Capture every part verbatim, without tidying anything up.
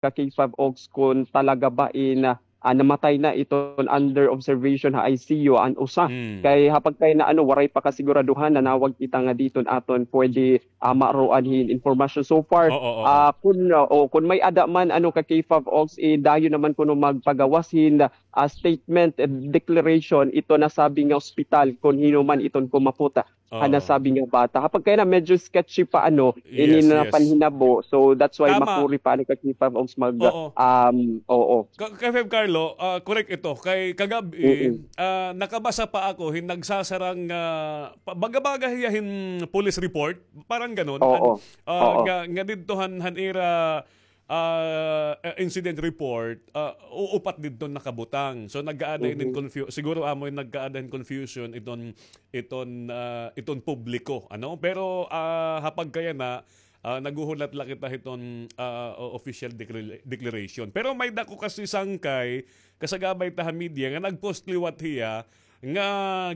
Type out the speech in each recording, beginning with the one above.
ka K five Ogs, kon talaga ba in, ah, ah, namatay na iton under observation ha I C U an usa. Mm. Kay ha pagkay na ano, waray pa kasiguraduhan, nanawag kita nga diton aton pwede, ah, maaroan hin impormasyon. So far, Oo, oo. ah, kun, ah, o, kun may-ada man, ano, ka K five Ogs, eh, dayon naman kuno magpagawas hin, ah, statement, eh, declaration ito nasabi nga ospital, kun hin-o man iton kumapot ha Oo. nasabi nga bata. Ha pagkay na medyo sketchy pa, ano, ini Yes, na yes. panhinabo. So, that's why Tama. makuri pa, ano, ka K five Ogs mag, Oo. um, oo. Ka-, K five Carlo, ah, correct ito. Kay kagab-i, Mm-mm. ah, nakabasa pa ako hin nagsasarang, ah, pa-, baga-baga hiya hin police report, parang ganon. Oo. An-, ah, Oo. nga, nga didto han, han ira, ah, ah, incident report, ah, u-, upat didto nakabutang. So, nag-aada inin Mhm. confu-, siguro amo in nag-aada hin confusion iton, iton, ah, iton publiko, ano? Pero, ah, ha pagkayana, ah, naghuhulat la kita hiton, ah, o-, official declara-, declaration. Pero may dako kasi sangkay, kasagabay ta ha media, nga nag-post liwat hiya, nga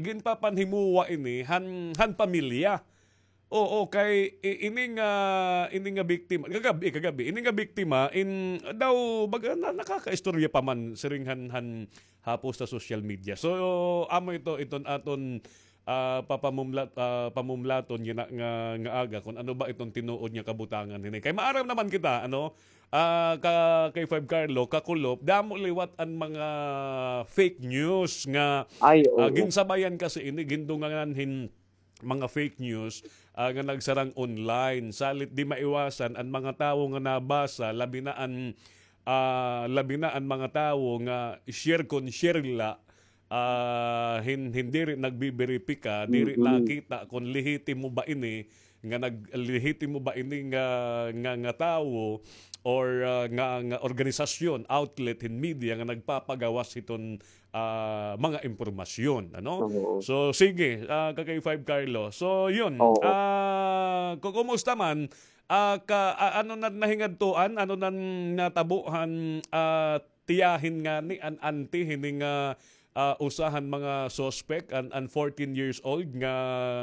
ginpapanhimuwa ini han, han pamilya. Oo, kay i-, ini nga, ini nga biktima, kagab-i, kagab-i, ini nga biktima, in, daw, baga, na, nakakaistorya pa man, siring han, han hapos sa social media. So, amo ito, iton aton, ah, papamumlat-, ah, pamumlaton yana nga, nga aga, kun ano ba iton tinuod nga kabutangan hini. Kay maaram naman kita, ano, ah, ka, K five Carlo, kakulop, damo liwat an mga fake news nga, Ay, ah, oo. ginsabayan kasi ini, gindungangan hin, mga fake news, ah, nga nagsarang online. Salit di maiwasan an mga tawo nga nabasa, labi na an, ah, labi na an mga tawo nga share kon share la, ah, hin-, hin diri nagbiberipika, diri Mm-mm. nakita kon lehitimo ba ini nga nag-, lehitimo ba ini nga, nga, nga tawo or, ah, nga, nga organisasyon, outlet hin media nga nagpapagawas hiton ah, mga impormasyon, ano? Oo. So, sige, ah, ka K five Carlo. So, yun. Oo. Ah, ku-, kumusta man? Ah, ka, ah, ano na nahingadtuan? Ano na natabo han, ah, tiyahin ngani, an auntie hini nga, ah, usa han mga suspect, an, an fourteen years old nga,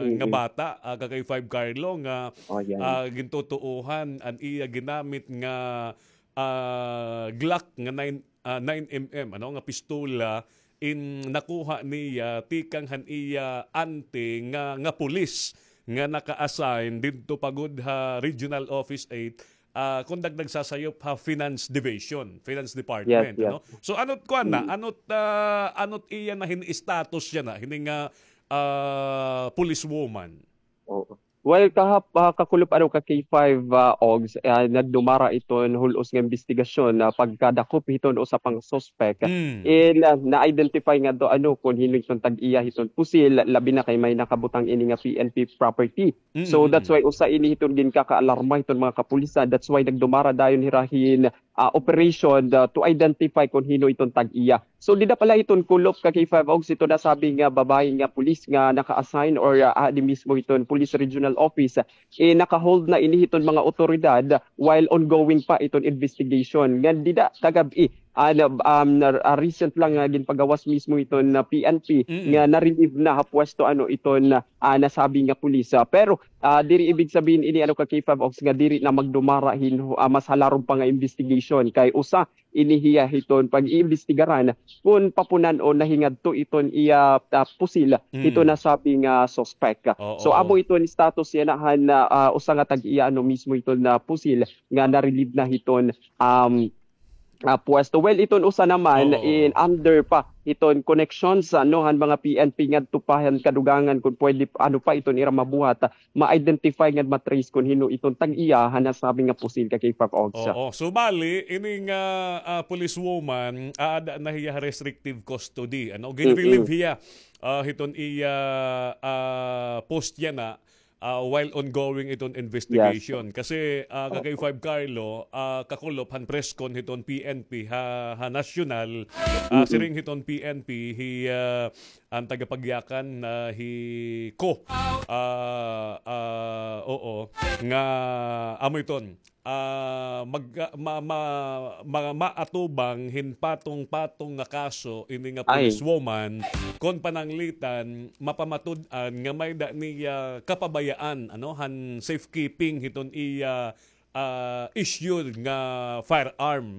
nga Mhm. bata, ah, ka K five Carlo, nga, Oh, yan. ah, gintutuohan an iya ginamit nga, ah, Glock nga nine ah, nine M M, ano, nga pistola in nakuha niya tikang han iya auntie nga, nga pulis nga naka-assign didto pa gud ha Regional Office eight, ah, kon nag-, nagsasayop ha Finance Division, Finance Department, Yes, yes. ano? So, ano't kuan na? Mm. Ano't, ah, ano't iya na hin status yana, hini nga, ah, policewoman? Oo. Well, kahap-, ah, kakulop, ano, ka K five, ah, Ogs, ah, nagdumara iton hul-os nga imbestigasyon na pagkadakop hiton usa pa nga suspek. Mm. In, ah, na-identify ngadto, ano, kon hin-o iton tag-iya hiton pusil, labi na kay may nakabutang ini nga P N P property. Mm, So, mm, that's mm. why usa ini hiton ginkakaalarma hiton mga kapulisan. That's why nagdumara dayon hira hin, ah, operation, ah, to identify kon hin-o iton tag-iya. So, dida pa la hiton kulop ka K five Ogs, iton nasabi nga babaye nga pulis nga naka-assign or, ah, adi mismo hiton Police Regional Office, eh, naka-hold na ini hiton mga awtoridad while ongoing pa iton investigation. Nga dida kagab-i, ah, na, um, na, ah, recent lang nga ginpagawas mismo hiton, ah, P N P Mm-mm. nga na-relieve na ha pwesto, ano, iton, ah, nasabi nga pulis. Ah, pero, ah, diri ibig sabihin ini, ano, ka K five Ogs, nga diri na magdumara hin, ah, mas halarog pa nga investigation. Kay usa ini hiya hiton pag-iimbestigaran kon papunan-on nahingadto iton iya, ah, pusil Mm. hiton nasabi nga suspek. Oo. So, amo iton status yana han, ah, ah, usa nga tag-iya, ano, mismo iton, ah, pusil nga na-relieve na hiton, um, ah, pwesto. Well, iton usa naman Oo. in under pa iton connections, ano, han mga P N P ngadto pa han kadugangan kon pwede, ano, pa iton ira mabuhat, ma-identify ngan ma-trace kon hin-o iton tag-iya han nasabi nga pusil ka K five Ogs. Oo. So, bali, ini nga, ah, policewoman, aada na hiya ha restrictive custody, ano? Gin-relieve Mm-mm. hiya, ah, hiton iya, ah, post yana, ah, while ongoing iton investigation. Yes. Kasi, ah, ka K five Carlo, ah, kakulop han press con hiton P N P ha, ha nasyonal, ah, Mm-mm. siring hiton P N P, hi, ah, an tagapagyakan na hi Ko, ah, ah, oo, nga amo iton, ah, mag-, ma-, ma-, ma-, maatubang hin patong-patong nga kaso ini nga Ay. policewoman, kon pananglitan, mapamatud-an nga may-ada niya kapabayaan, ano, han safekeeping hiton iya ah, issued nga firearm.